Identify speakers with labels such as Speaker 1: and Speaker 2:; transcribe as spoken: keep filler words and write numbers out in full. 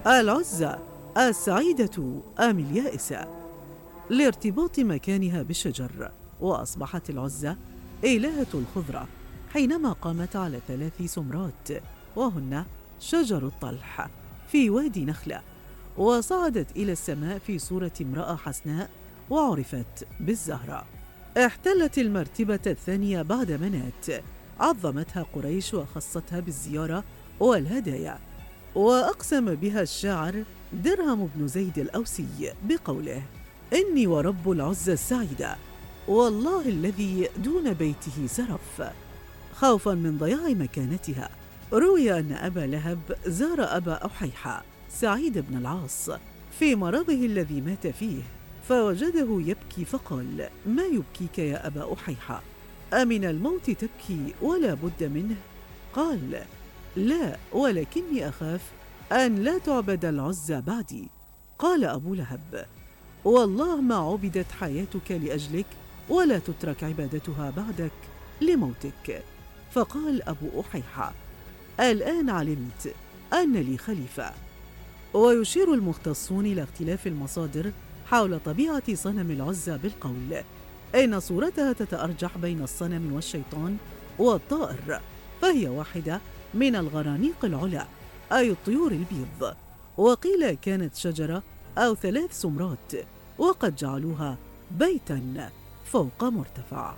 Speaker 1: العزة السعيدة أم اليائسة؟ لارتباط مكانها بالشجر، وأصبحت العزة إلهة الخضرة حينما قامت على ثلاث سمرات، وهن شجر الطلح في وادي نخلة، وصعدت إلى السماء في صورة امرأة حسناء وعرفت بالزهراء. احتلت المرتبة الثانية بعد منات، عظمتها قريش وخصتها بالزيارة والهدايا، وأقسم بها الشاعر درهم بن زيد الأوسي بقوله: إني ورب العزة السعيدة والله الذي دون بيته سرف، خوفا من ضياع مكانتها. روي أن أبا لهب زار أبا أحيحة سعيد بن العاص في مرضه الذي مات فيه، فوجده يبكي فقال: ما يبكيك يا أبا أحيحة؟ أمن الموت تبكي ولا بد منه؟ قال: لا، ولكني أخاف أن لا تعبد العزة بعدي. قال أبو لهب: والله ما عبدت حياتك لأجلك ولا تترك عبادتها بعدك لموتك. فقال أبو أحيحة: الآن علمت أن لي خليفة. ويشير المختصون إلى اختلاف المصادر حول طبيعة صنم العزة بالقول إن صورتها تتأرجح بين الصنم والشيطان والطائر، فهي واحدة من الغرانيق العلا أي الطيور البيض، وقيل كانت شجرة أو ثلاث سمرات، وقد جعلوها بيتاً فوق مرتفع.